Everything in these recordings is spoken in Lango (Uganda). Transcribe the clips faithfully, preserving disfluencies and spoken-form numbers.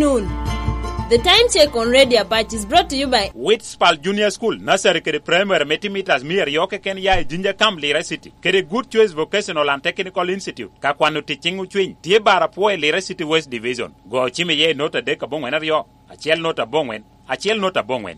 The Time Check on Radio Apac is brought to you by Witspal Junior School, Nursery kede Primary me timo mitas mia aryo keken ya i Jinja Camp, Lira City, kede Good Choice Vocational and Technical Institute. Ka kwano tic ciŋ ocwiny, tye bar apwo i Lira City West Division. Go cim iye i nota adek aboŋwen aryo, acel nota aboŋwen, acel nota aboŋwen.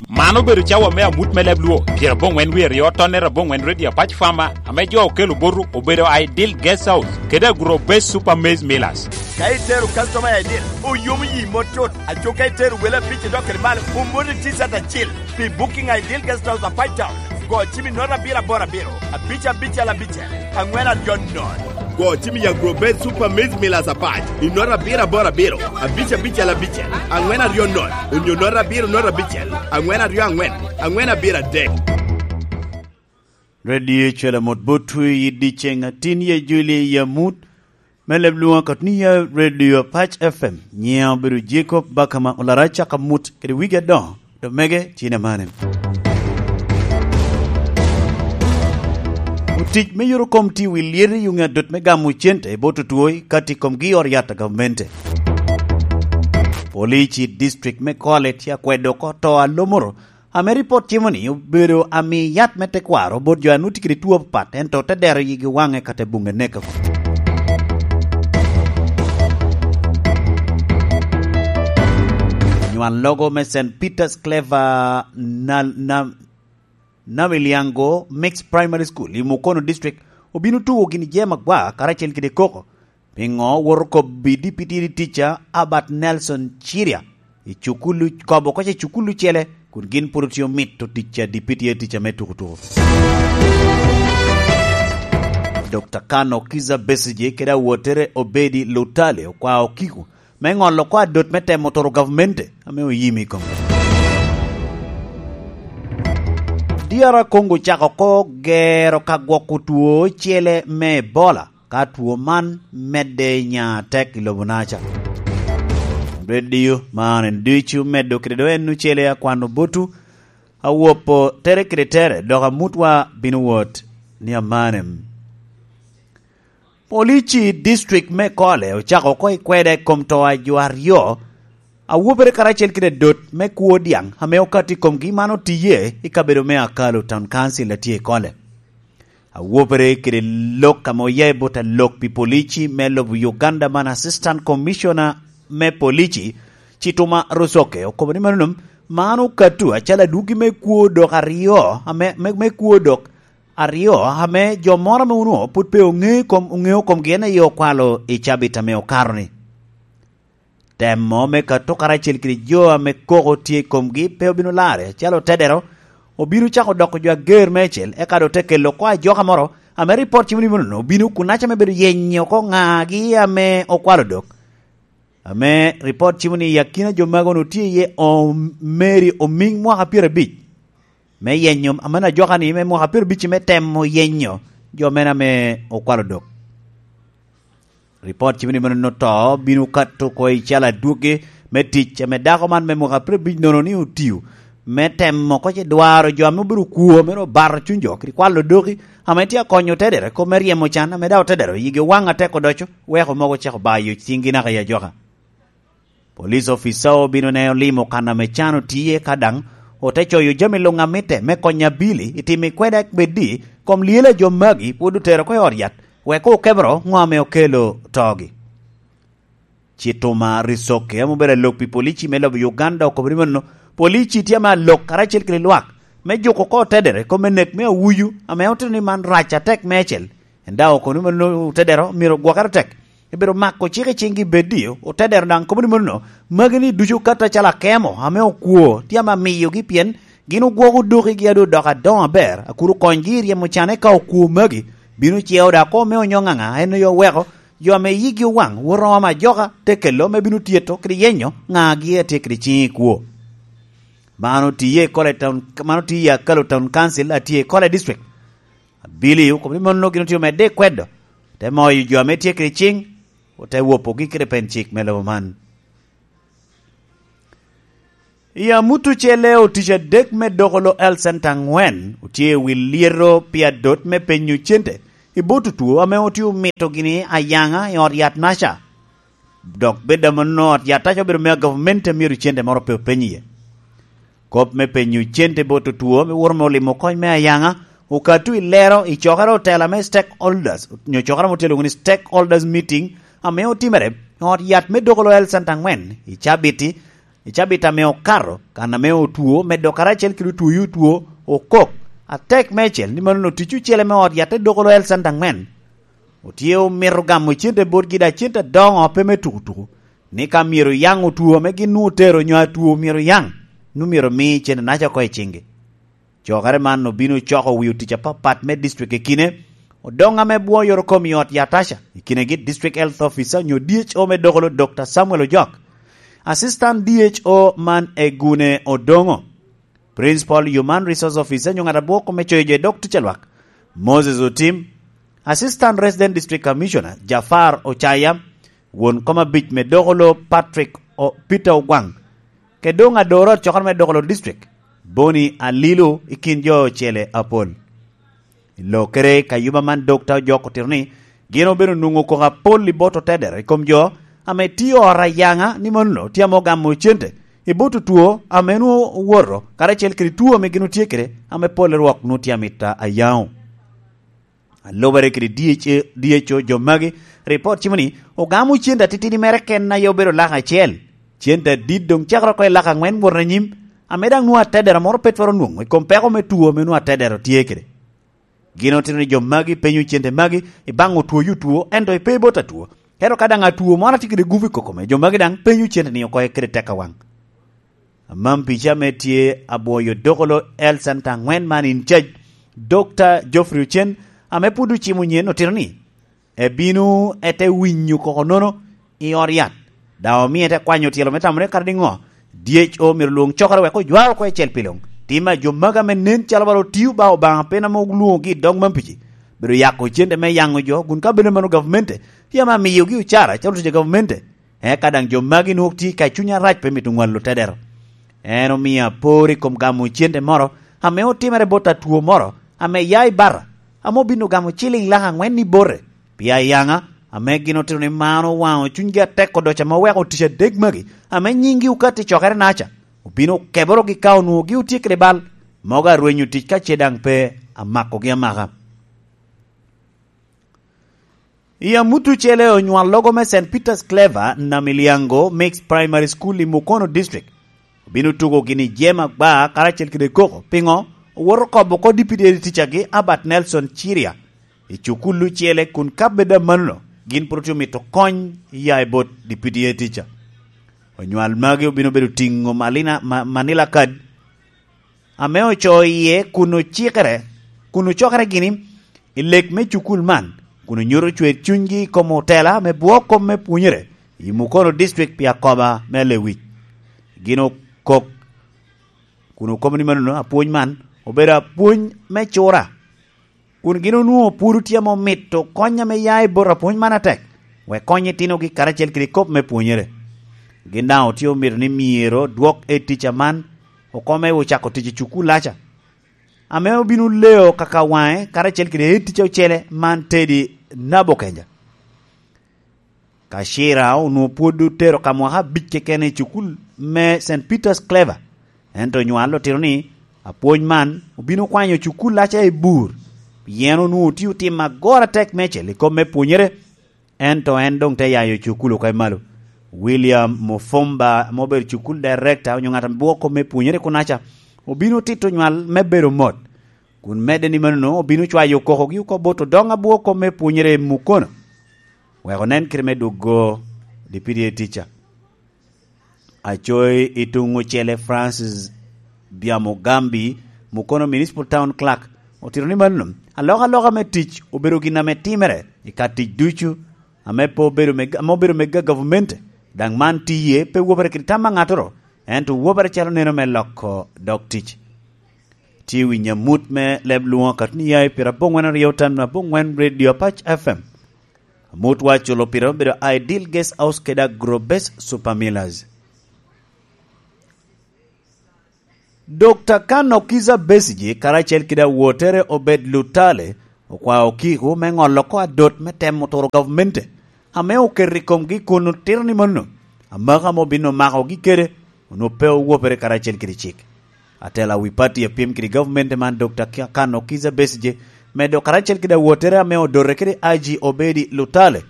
Man obedo cawa me amut me leb Luo, pyeraboŋwen wie aryo tonnere aboŋwen Radio Apac Farmer, ame jo okelo botu obedo Ideal Guest House kede Agro Base Super Maize Millers. Ka itero customer i Ideal, oyomo yi mot tut. Aco ka itero wele abic idok kede malo, omoti T-shirt acil. Pi booking Ideal Guest House Apac Town, go cim i nota abiro aboro abiro, abic abicel abicel, aŋwen aryo nono. Go cim i Agro Base Super Maize Millers Apac i nota abiro aboro abiro, abic abicel abicel, aŋwen aryo nono, onyo nota abiro nota abicel, aŋwen aryo aŋwen, aŋwen abiro adek. Radio Cwela mot botwu i dyeceŋ atin ye Juli i amut me leb Luŋ akot ni ya Radio Apac F M. Nyiŋa obedo Jacob Bakama, olara caka mut kede wigi adoŋo, do mege tye na mane. Otic me yuro kom tye wi lyet i yuŋe adot me gamo cente i bot otwo i kati komgi i ot yat a gamente. Polici i district me Kole tye akwedo oko to a Lomoro, ame ripot cimo ni obedo ami yat me tekwaro bot jo a nut kede two apapat, ento te dero yigi waŋe ka te buŋe neke oko. Nywal logo me Saint Peter's Clever na, na, Namiliango Mixed Primary School i Mukono District obino tugo gin jema gwa karacel kede koko. Piŋo woto kobbi dipiti di tica Albert Nelson Ciria i cukulu, kobo koca i cukulu cele, kun gin pwod otye omito tic a dipiti e tica me tuko tuko. Doctor Kano Kiza Besigye kede awottere Obedi Lutale okwao Kiko me ŋolo oko adot me temo toro gavmente ame oyim i kom. D R Congo ocako oko gero ka gwoko two ocele me Ebola, ka two man medde nya atek i lobo naca. Radio man en ducu meddo kede do en ocele akwano botu, awopo tere kede tere, dok amutwa bino wot ni amanem. Polici i district me Kole ocako oko i kweda i kom to a jo aryo, awobere karacel kede dot me kwo diaŋ ame okato i komgi man otiye i kabedo me Akalo Town Council a tye i Kole. Awobere kede lok ame oya i bot alok pi polici me lobo Uganda man Assistant Commissioner me Polici, Chituma Rusoke, okobo ni mano man okato acalo adwogi me kwo dok aryo, ame, me, me kwo dok aryo, ame jo moro ame onwoŋo pwod pe oŋe kom, oŋeo komgi en aye okwalo i cabit ame okato-ni. Temo me kato karacel kede jo ame koko tye i komgi pe obino larre, acalo otedero, obino cako doko jo ager meicel, eka doŋ te kelo oko ajoka moro, ame ripot cimo ni mono obino kun aca me bedo yenyo oko ŋagi ame okwalo dok. Ame ripot cimo ni i akina jo mago onwoŋo tye iye Om-, Mary Omiŋ mwaka pyerabic, me yenyo, ame ajoka-ni me mwaka pyerabic me temo yenyo jo mene ame okwalo dok. Ripot cimo ni mano to bino kato oko i cal adwogi me tic ame dako man me mwaka pyerabic nono ni otio me temo oko ce dwaro jo ame obedo kwo, ame obato cuny jo, kede kwalo doki, ame tye akonyo otedere kop me ryemo can, ame daŋ otedero yigi owaŋ atek odoco, weko mogo ocako bayo ciŋgi naka i ajoka. Police officer obino ne olimo kan ame can otiye, ka daŋ ote coyo jami luŋ a mitte me konyo abili i timo i kweda beddi kom lyel a jo magi pwod otero oko i ot yat, wek okebero ŋo ame okelo togi. Chituma Risoke ame obedo alok pi polici me lobo Uganda okobo ni mano, polici tye ame alok karacel kede lwak me juko oko otedere kom me nek me awuyu ame otito ni man rac atek meicel. En daŋ okobo ni mano otedero myero ogwokere tek, ebedo mako cik i ciŋgi beddi, otedero daŋ kobo ni mano, magi ni ducu okato acalo akemo ame okwo tye ame amiyogi, pien gin ogwoko dokigi a doŋ odoko adoŋo aber, a kur okonygi i ryemo can, eka okwo magi bino ceo daŋ oko me onyo ŋaŋa en aye oweko jo ame yigi owaŋ woto oko ame ajoka te kelo me bino tyeto kede yenyo ŋagi a tye kede ciŋ i kwo. Man otiye i Kole Town, man otiye i Akalo Town Council a tye i Kole District. Abili okobo ni mano gin otye omedde i kwedo, te moyo jo ame tye kede ciŋ, ote wopogi kede pen cik me lobo man. I amut ocele, otic adek me doko lo Health Center aŋwen otye i wi lyeto pi adot me penyo cente i bot otwo ame otye omito gini ayaŋa i ot yat naca. Dok bed amanno ot yataca obedo mea gavumenti a myero cente moro pe openy iye. Kop me penyo cente bot otwo me woro me olimo kony me ayaŋa okato i lero i cokere otela me stakeholders, nyo cokere ame otye lwoŋo ni stakeholders meeting, ame otimere i ot yat me Dokolo Health Center aŋwen i cabiti, i cabit ame okato, kan ame otwo, medo karacel kede otwoyi otwo, okok atek meicel ni mano tic ocele me ot yat te Dokolo Health Center aŋwen. Otye omito gamo cente botgi, da cente adoŋo, pe me tukutuku, ni ka myero yaŋ otwo ame gin nwoŋo otero nyo atwo myero yaŋ, nwoŋo myero omi cente naca oko i ciŋgi. Cokere man obino coko wi otic apapat me district i kine, odoŋ ame bwoyoro kom i ot yataca, i kinegi District Health Officer nyo D H O me Dokolo, Doctor Samuel Ojok, Assistant D H O man Egune Odoŋo, Principal Human Resource Officer nyo ŋat abwoko me coyo jo i dog tic a lwak, Moses Otim, Assistant Resident District Commissioner Jafar Ochaya, won kom abic me Dokolo Patrick O-, Peter Ogwaŋ, kede doŋ adoro acokere me Dokolo District, Boni Alilo i kin jo ocele apol. I lokere, kayuma man Dokta Ojok otito ni gin obedo nwoŋo koko apol i bot otedero i kom jo ame tio ot ayaŋa, ni mano tye ame ogamo cente i bot otwo ame nwoŋo owoto, karacel kede two ame gin otye kede, ame pol i rwok nwoŋo tye amita ayaŋo. A lubere kede D H A, D H O, jo magi, ripot cimo ni ogamo cente atitidi mere ken aye obedo lak acel. Cente adit doŋ cakere oko i lak aŋwen wot anyim, ame daŋ nwoŋo atedero moro pe twero nwoŋo i kom peko me two ame nwoŋo atedero tye kede. Gin otito ni jo magi penyo cente magi i baŋ otwo yi otwo, ento ipe bot atwo. Ento ka daŋ atwo moro atye kede gupu i kokome, jo magi daŋ penyo cente ni oko kede tek awaŋ. Amam pica ame tye abwoyo Dokolo Health Center aŋwen man in cac, Dokta Geoffrey Ocen, ame pwod ocimo nyen otito ni ebino ete winyo koko nono i ot yat, daŋ omie te kwanyo tyelo me tamone kadi niŋo. D H O myero lwoŋ cokere wek ojwar oko ecel pi luŋ. Tim a jo magi ame nen calo bala otio ba Obaŋa pen ame olwoŋogi i dog Mampici, bedo yako cente me yaŋo jo, kun ka bed mano gavumenti tye ame amiyogi ocara calo tic a gavumenti. Eka daŋ jo magi nwoŋo tye ka cuny arac pe mito ŋwalo tedero. En omio apor i kom gamo cente moro ame otimere bot atwo moro ame ya i Bara, ame obino gamo ciliŋ lak aŋwen i bote, pi ayaŋa, ame gin otito ni man owaŋo cunygi atek odoco ame oweko tic adek magi, ame nyiŋgi okato i cokere naca, obino okeborogi ka onwoŋo gi otye kede bal, mogo arwenyo tic ka ce daŋ pe amakogi amaka. I amut ocele, onywal logo me Saint Peter's Clever Namiliango Mixed Primary School i Mukono District obino tugo gini jema gba karacel kede koko. Piŋo? Owoto kobo oko dipidi ticagi Albert Nelson Ciria i cukul ocele kun ka bed amanno gin pwod otye omito kony ya i bot dipidi tica. Onywal magi obino bedo tiŋo malina, ma, manila kad ame ocoo iye kun ocikere, kun ocokere gini i lek me cukul man, kun onyuto cwer cunygi i kom otela me bwo kom me pwonyere i Mukono District pi akoba me lewic. Gin okok, kun okobo ni manono apwony man obedo apwony me cura, kun gin onwoŋo pwod tye ame omito kony ame ya i bot apwony man atek, wek kony itinogi karacel kede kop me ppwonyere. Gin daŋ otye omito ni myero dwok etica man oko me ocako tic i cukul-laca, ame obino leo kaka waŋe karacel kede etica ocele man Teddy Nabokenja. Kacira onwoŋo pwod otero ka mwaka abic keken i cukul me Saint Peter's Clever, ento onywal otito ni apwony man obino kwanyo cukul-laca i bur, pien onwoŋo tye otim agoro atek mecel i kom me pwonyere, ento en doŋ te yayo cukul oko i malo. William Mufumba, ame obedo cukul director onyo ŋat ame bwoko kom me pwonyere kunaca, obino tito onywal me bedo mot, kun medde ni manono obino cwayo kokogi oko bot odoŋ abwoko kom me pwonyere i Mukono, wek onen kite me dwogo dipidi etica. Acoyi i tuŋ ocele Francis Byamugambi, Mukono Municipal Town Clerk, otito ni mano alokaloka me tic obedo gin ame timere i ka tic ducu, ame pe obedo me, ame obedo me ga-, gavumenti, daŋ man tiye pe wobere kede tam a ŋattoro, ento wobere calo neno me loko dog tic. Tye winyo amut me leb lwoŋo akatni ya i pira aboŋwen aryo tam aboŋwen Radio Apac F M. Amut wa culo pire obedo Ideal Guest House kede Agrobase Super Millers. Dokta Kano Kiza Besigye karacel kede awotere Obed Lutale okwao Kiko me ŋolo oko adot me temo turo gavumenti ame oketo i komgi kun otito ni mano, amaka ame obin omakogi kede onwoŋo pe owopere karacel kede cik. Atela wi pati a pyem kede gavumenti man, Dokta Ki-, Kano Kizza Besigye, medo karacel kede awottere ame odote kede I G Obedi Lutale,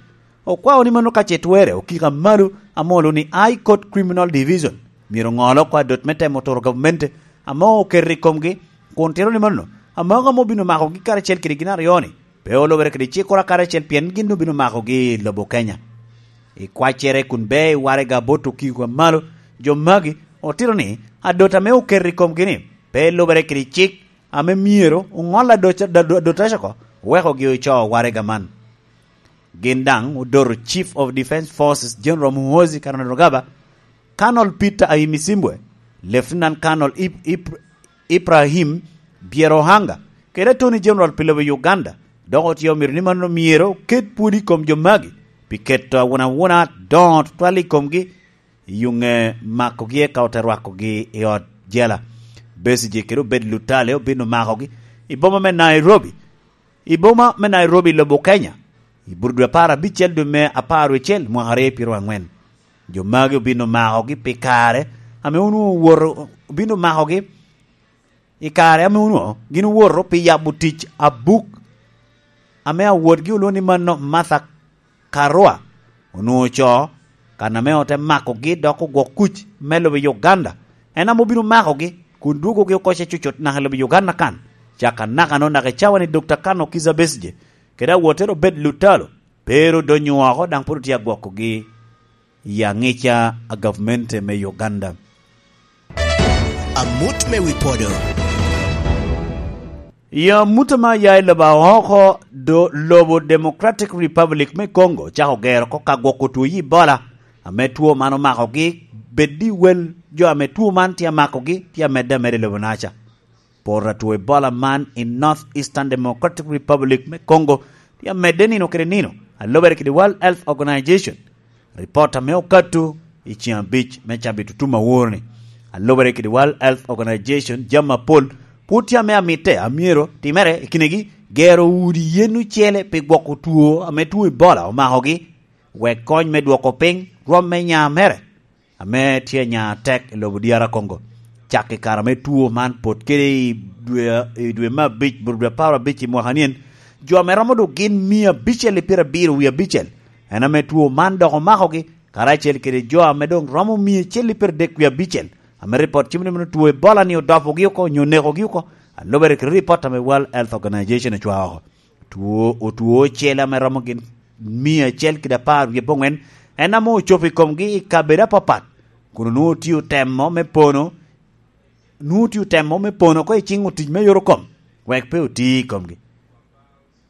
okwao ni mano ka ce twerre okika malo ame olo ni High Court Criminal Division myero oŋol oko adot me temo turo gavumenti ame oketo i komgi, kun tito ni mano, amaka ame obin omakogi karacel kede gin aryo-ni, pe olubere kede cikkoro karacel pien gin obin omakogi i lobo Kenya. I kwaccere kun bea i waraga bot okiko a malo, jo magi otito ni adot ame oketo i komgi-ni pe lubere kede cik ame myero oŋol adot-, adot-, adotaca oko, owekogi oco waraga man. Gin daŋ odoto Chief of Defense Forces General Muhoozi Kainerugaba, Colonel Peter Ahimisimbwe, Lieutenant Colonel Ib-, Ib-, Ibrahim Byerohanga, kede Attorney General pi lobo Uganda, dok otye omito ni mano myero oket pwod i kom jo magi pi keto awunawuna doŋo tutwal i komgi, i yuŋe makogi eka ote rwakogi i ot jela. Besigye kede Obed Lutale obin omakogi i boma me Nairobi, i boma me Nairobi, lobo Kenya, i bur dwe apar abicel dwe me apar wecel mwaka aryo pyero aŋwen. Jo magi obin omakogi pi kare ame onwoŋo owoto, obin omakogi i kare ame onwoŋo gin owoto pi yabo tic abuk ame awotgi olwoŋo ni mano Martha Karua onwoŋo ocoo, kan ame ote makogi dok ogwok kuc me lobo Uganda. En ame obino makogi kun dwogogi oko ce cucut naka i lobo Uganda kan. Caka naka-no, naka i cawa-ni, Dokta Kano Kizza Besigye kede awottere Obed Lutalo pe ru donyo oko, daŋ pwod otye agwokogi i aŋica a gavumenti me Uganda. Amut me wi podo. I amut ame aya i lobo aoko, do lobo Democratic Republic me Congo cako gero oko ka gwoko two Ebola, ame two man omakogi, bed i wel jo ame two man tye amakogi tye amedde ameda i lobo naca. Poto a two Ebola man i North Eastern Democratic Republic me Congo tye amedde nino kede nino, a lubere kede World Health Organization. Ripot ame okato i ceŋ abic me cabit otum awor-ni, a lubere kede World Health Organization, jami apol pwod tye ame amitte a myero timere i kinegi, gero udi yen ocele pi gwoko two ame two Ebola omakogi, wek kony me dwoko piny rwom me nya mere ame tye nya atek i lobo dyara Congo. Cak i kare ame two man pot kede i dwe, i dwe me abic, bur dwe apar abic i mwaka nien, jo ame romo dok gin mia abicel i pyerabiro wie abicel, en ame two man dok omakogi, karacel kede jo ame doŋ romo mia acel i pyeradek wie abicel, ame ripot cimo ni mano two Ebola-ni odopogi oko, onyo onekogi oko, a lubere kede ripot ame World Health Organization ocwao oko. Two, otwo ocele ame romo gin mia acel kede apar wie aboŋwen, en ame ocopo i komgi i kabedo apapat, kun onwoŋo otio temo me pono, nwoŋo otio temo me pono oko i ciŋ otic me yorokom, wek pe oti i komgi.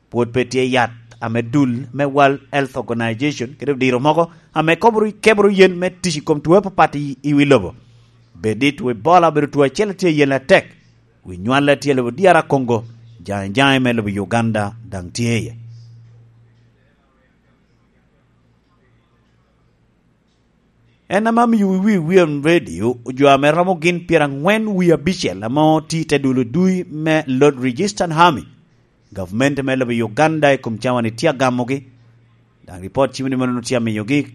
Pwod pe tye yat ame dul me World Health Organization kede odiro mogo ame koboro, keboro yen me tic i kom two apapat i, i wi lobo. Bed ni two Ebola obedo two acel a tye yen atek, wi nywal a tye i lobo dyara Congo, jaŋe jaŋe me lobo Uganda daŋ tye iye. En ame amiyo wi William Radio, jo ame romo gin pyeraŋwen wie abicel ame otye i te dul odui me Lord Registrar Army, gavumenti me lobo Uganda i kom cawa-ni tye agamogi. Daŋ ripot cimo ni mano tye amiyogi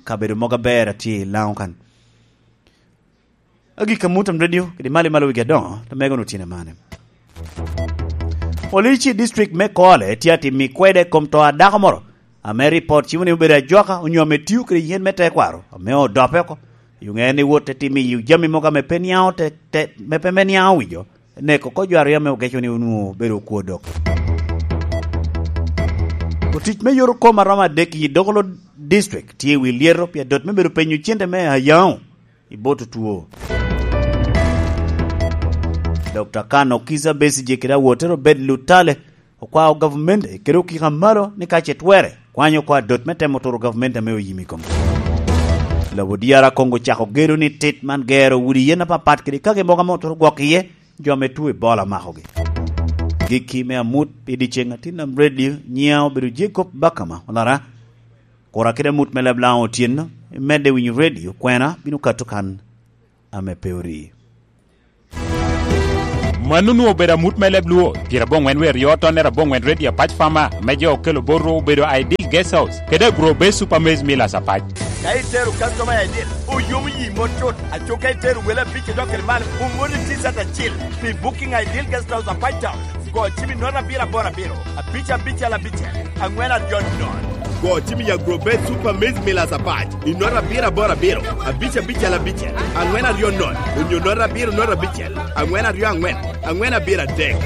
kabedo mogo aber a tye i Laŋo kan. Agikki, Amutam Radio kede Mali Malo wigi adoŋo, to mego-nu tye mane? Police i district me Kole tye atimo kwede kom to a dako moro, ame ripot cimo ni obedo ajwaka onyo ame tio kede yen me tekwaro, ame odope oko. Yo ŋe en ni wot te timo i jami mogo ame pe niaŋ te, te, me pe, me niaŋ owijo, neko oko jo aryo ame ogeco ni onwoŋo obedo okwo dok. Otic me yorokom a romo adek i Dokolo District tye i wi lyeto pi adot me bedo penyo cente me ayaŋo i bot otwo. Dokta Kano Kizza Besigye kede awotere Obed Lutale okwao gavumenti kede okika malo ni ka ce twere, kwanyo oko adot me temo turo gavumenti ame oyim i komgi. Lobo D R Congo ocako gedo ni tit man gero udi yen apapat kede kaki mogo ame oturo gwok iye jo ame two Ebola makogi. Gikki me amut pi dyeceŋ, Atin Nam Radio, nyiŋa obedo Jacob Bakama Olara. Kura kede amut me leb Laŋo otyeno, imedde winyo radio, kwena bino kato kan ame pe orii. Mano onwoŋo obedo amut me leb Luo, pyerabongwen wer yo tonnere abongwen Radio Apac Farmer, me jo okelo bot rwo obedo Ideal Guest House, kede Agro Base Super Maize Millers Apac. Ka itero customer Ideal, oyomo yi mot cut. Aco ka itero wele abic idok kede malo, omoni T-shirt acil pi booking Ideal Guest House Apac Town. Go cim i nota abiro aboro abiro, abic abicel abicel, angwen aryo non. Go cim i Agro Base Super Maize Millers Apac i nota abiro aboro abiro, abic abicel abicel, angwen aryo non, onyo nota abiro nota abicel, angwen aryo angwen, angwen abiro adek.